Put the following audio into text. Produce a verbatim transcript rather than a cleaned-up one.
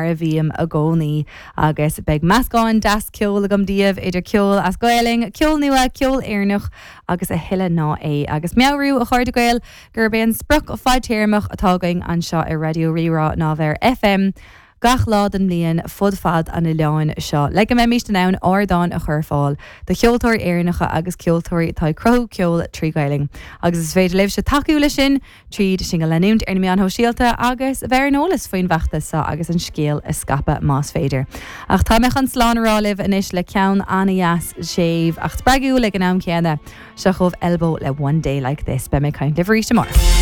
a bhím i gcónaí agus beidh meascán deas ceoil agam daoibh idir ceol as Gaelainn, ceol nua, ceol Éireannach agus a thuilleadh ná é agus meabhrú a chairde Gael gurb é an sprioc fadtéarmach atá againn anseo ar Raidió Rí-Rá ná bheith ar FM gach lá den mbliain fud fad an oileáin seo. Le go mbeimid in ann ardán a chur fáil do cheoltóirí Éireannacha agus ceoltóirí atá ag cruthú ceol trí Ghaelainn. Agus is féidir libhse tacú leis sin tríd sinn a leanúint ar na meáin shóisialta agus bheith ar an eolas faoin bhfeachtas seo agus an scéal a scaipeadh más féidir. Ach tá mé chun slán a rá libh anois le ceann an-deas séimh ach spreagúil ag an am céanna seo chugaibh Elbow le one day like this beidh mé ag caint libh arís amárach.